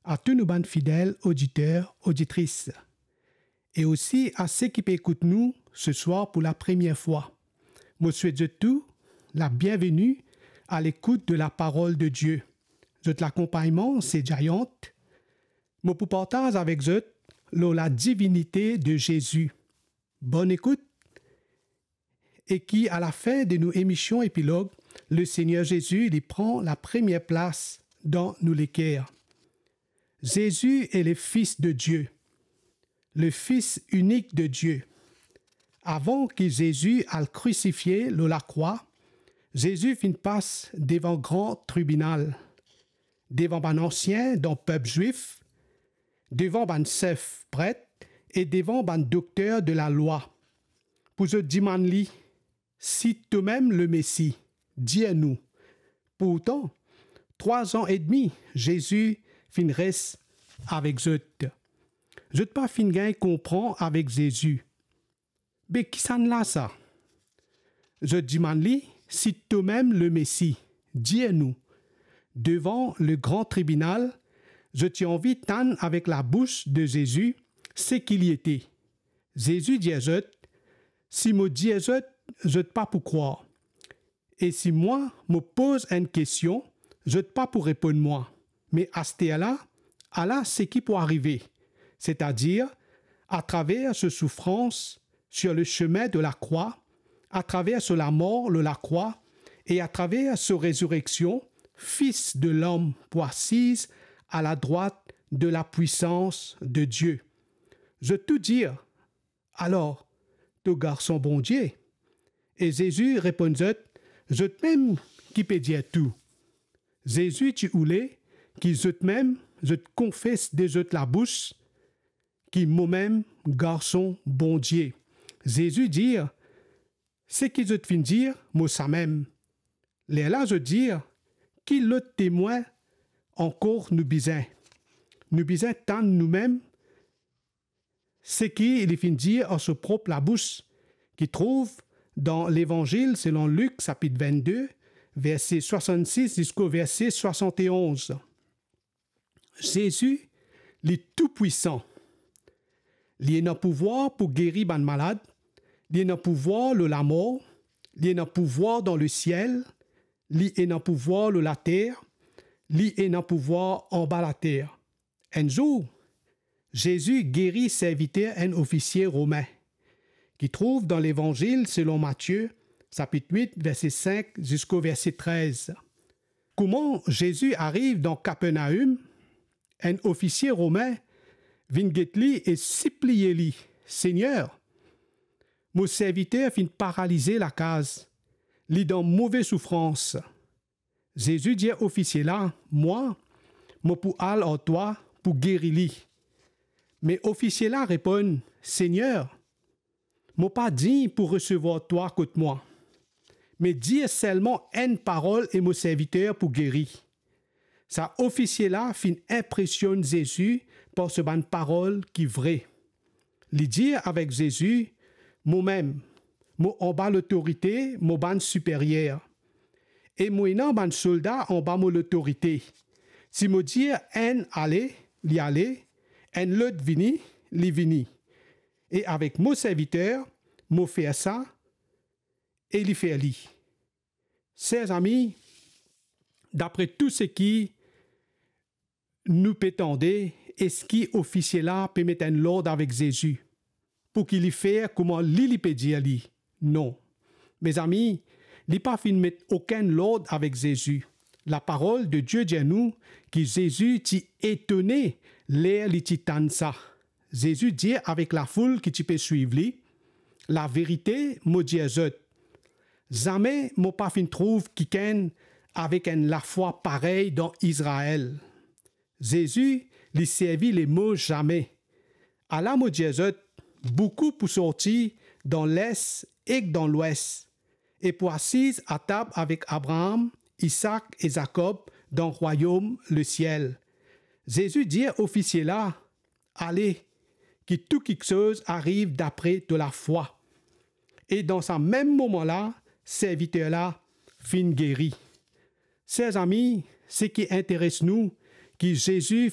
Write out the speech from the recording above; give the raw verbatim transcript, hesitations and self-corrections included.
a tou nou bann fidel oditer, oditris, e osi a seki pe ekout nou seswar pou lapremier fwa. Mo swet zot tou labienveni a lekout de laparol de Die. Zot lakonpagnman se Giant. Mo pou partaz avek zot lor ladivinite de Zezi. Bonn ekout. E ki a lafin de nou emision epilog, Lesegner Zezi, li pran lapremier plas dan nou leker. Zezi est le Fils de Dieu, le Fils unique de Dieu. Avan ki Zezi al krisifie lor lakrwa, Zezi finn pas devan gran tribinal, devan bann ansien dan pep Zwif, devan bann sef pret e devan bann dokter de lalwa, pou zot dimann li, "Si tomem le Mesi, dir nou." Pourtan, trwa an edmi Zezi finn res avek zot. Zot pa finn gagn konpran avek Zezi. Be kisannla sa? Zot dimann li, "Si tomem le Mesi, dir nou." Devan le gran tribinal, zot ti anvi tann avek labous de Zezi seki li ete. Zezi dir zot, "Si mo dir zot, zot pa pou krwar. E si mwa, mo poz enn kestion, zot pa pou reponn mwa. Me asterla, ala seki pou arive, setadir atraver so soufrans sur le chemin de la croix, atraver so lamor lor lakrwa, e atraver so rezireksion, Fis de Lom pou asiz a ladrwat de lapwisans de Die." Zot tou dir, "Alor, to Garson Bondie." E Zezi reponn zot, "Zotmem ki pe dir tou." Zezi ti oule ki zotmem, zot konfes de zot labous ki momem Garson Bondie. Zezi dir, "Seki zot finn dir, mo samem." Lerla zot dir, "Ki lot temwin ankor nou bizin? Nou bizin tann noumem seki li finn dir ar so prop labous," ki trouv dan Levanzil selon Lik, sapit vennde, verse swasannsis ziska verse swasanteonz. Zezi, li toupwisan. Li ena pouvwar pou geri bann malad, li ena pouvwar lor lamor, li ena pouvwar dan lesiel, li ena pouvwar lor later, li ena pouvwar anba later. Enn zour, Zezi geri serviter enn ofisie romin, ki trouv dan Levanzil selon Matie, sapit wit, verse sink ziska verse trez. Kouma Zezi ariv dan Kapernaim, enn ofisie romin vinn get li e sipliye li, "Segner, mo serviter finn paralize lakaz, li dan move soufrans." Zezi dir ofisie la, "Mwa, mo pou al ar twa pou geri li." Me ofisie la reponn, "Segner, mo pa dign pou resevwar twa kot mwa. Me dir selman enn parol e mo serviter pou geri." Sa ofisie la finn inpresionn Zezi par so bann parol ki vre. Li dir avek Zezi, "Momem, mo anba lotorite mo bann siperyer. E mo ena bann solda anba mo lotorite. Si mo dir enn ale, li ale, enn lot vini, li vini. E avek mo serviter, mo fer sa, e li fer li." Ser zami, dapre tou seki nou pe tande, eski ofisie la pe met enn lord avek Zezi, pou ki li fer kouma li, li pe dir li? Non. Mezami, li pa finn met okenn lord avek Zezi. Laparol de Die dir nou ki Zezi ti etone ler li ti tann sa. Zezi dir avek lafoul ki ti pe swiv li, "Laverite, mo dir zot, zame mo pa finn trouv kikenn avek enn lafwa parey dan Izrael." Zezi, li servi lemo zame. Ala mo dir zot, boukou pou sorti dan Les ek dan Lwes, e pou asiz atab avek Abraam, Isak e Zakob dan rwayom lesiel. Zezi dir ofisie la, "Ale, ki tou kiksoz ariv dapre to lafwa." E dan sa mem moman la, serviter la finn geri. Ser zami, seki interes nou, ki Zezi